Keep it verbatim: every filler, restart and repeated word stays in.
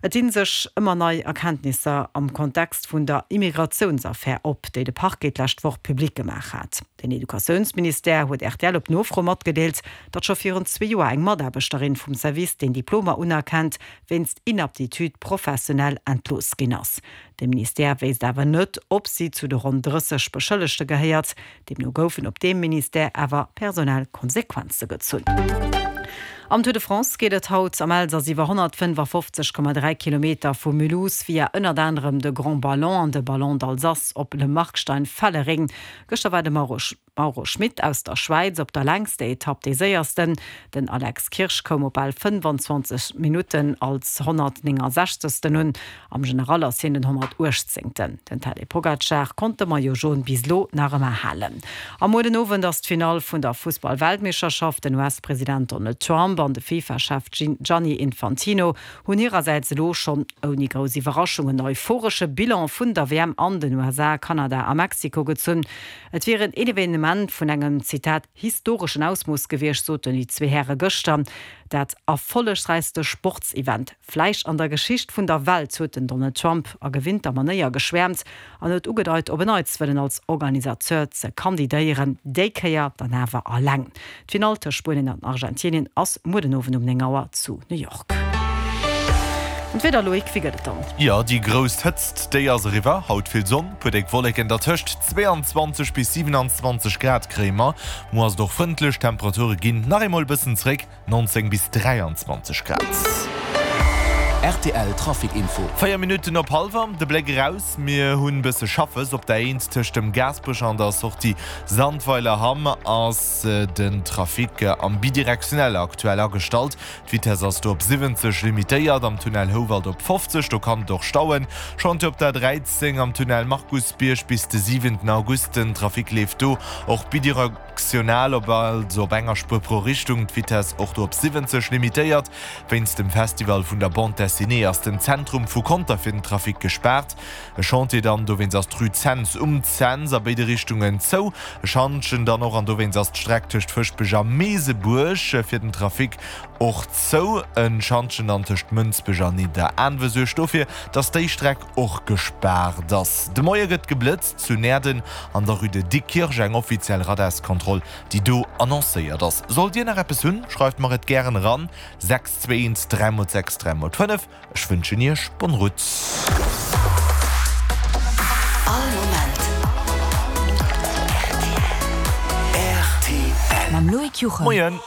Et dinn sech ëmmer nei Erkenntnisser am Kontext vun der Immigratiounsaffär op, déi de Parquet d'lescht Woch public gemaach hat. Den Educatiounsministère huet rtl op Nofro matgedeelt, datt scho virun zwee Joer eng Mataarbechterin vum Service, deen Diplomer unerkennt, wéinst Inaptitude professionnelle entlooss ginn ass. De Ministère wéisst awer net, ob si zu de ronn drësseg Beschëllegte gehéiert. Deemno goufen op deem Ministère awer personell Konsequenze gezunn. Am Tour de France geet et haut am Elsass iwwer honnertfënnefafofzeg Komma dräi Kilometer vu Mulhouse via ënnert anerem de Grand Ballon an de Ballon d'Alsace op Le Markstein-Fellering. Gëschter war de Mauro Schmit aus der Schwäiz op der längster Etapp dee Séiersten. Den Alex Kirsch koum op bal fënnfanzwanzeg Minutten als honnertnéngensechzegsten un. Am General ass hien den honnertuechtzéngten. Den Tadej Pogacar konnt de Maillot Jaune bis elo nach ëmmer halen. A muer den Owend ass d'Finall vun der Fussball-Weltmeeschterschaft. Den U S-President Donald Trump an de FIFA-Chef Gianni Infantino hunn hirersäits elo schonn ouni grouss Iwwerraschung en euphoresche Bilan vun der W M an den U S A, Kanada a Mexiko gezunn. Et wier en Evenement vun engem, Zitat, historeschen Ausmooss gewiescht, soten déi zwee Häre gëschter. Dat erfollegräichste Sportsevent vläicht an der Geschicht vun der Welt, huet den Donald Trump a gewinnter Manéier geschwäermt an huet ugedeit, op en Neits wëllen als Organisateur ze kandidéieren, déi Kéier dann awer alleng. D'Finall tëscht Spuenien an Argentinien ass muer den Owend um néng Auer zu New York. An d'Wieder, Loïc, wéi gëtt et dann? Jo, déi grouss Hëtzt, déi ass eriwwer. Haut vill Sonn, puer déck Wolleken dertëscht. Zweeanzwanzeg bis siewenanzwanzeg Grad kréie mer. Muer ass et och frëndlech, d'Temperature ginn nach eemol e bëssen zréck, neunzéng bis dräianzwanzeg Grad. R T L Trafic Info. Véier Minutten op hallwer, de Bléck eraus, Mir hunn bësse Schaffes op der Eent tëscht dem Gaasperech an der Sortie Sandweilerhamm ass den Trafic am Bidirektionelle aktuell agestallt. D'Vitess ass do op siwwenzeg limitéiert, am Tunnel Houwald op fofzeg, do kann et och stauen. Chantier op der dräizéng am Tunnel Markusbierg bis de siwenten August, den Trafic leeft do och bidirektional op, also op enger Spuer pro Richtung, d'Vitess och do op siwwenzeg limitéiert. Wéinst dem Festival vun der Bande Dessinée ass den Zentrum vu Conter fir den Trafic gespaart. E Chantier dann, dowéinst ass d'Rue Cents um Cents a béide Richtungen zou. E Schantjen dann och an dowéinst ass d'Streck tëscht Fëschbech a Meesebuerg fir den Trafic och zou. E Schantjen dann tëscht Mënsbech an Nidderaanwe suergt dofir, dass déi Streck och gespaart ass. De Moie gëtt geblëtzt zu Näerden an der Rue de Dikkirch, eng offiziell Radarskontroll, déi do annoncéiert ass. Sollt Dir nach eppes hunn, schreift mer et gären eran, sechs zwee eent dräi mol sechs dräi mol fënnef. Ech wënschen Iech bonne route. All Moment rtl. Mam Loïc Juchem. Moien.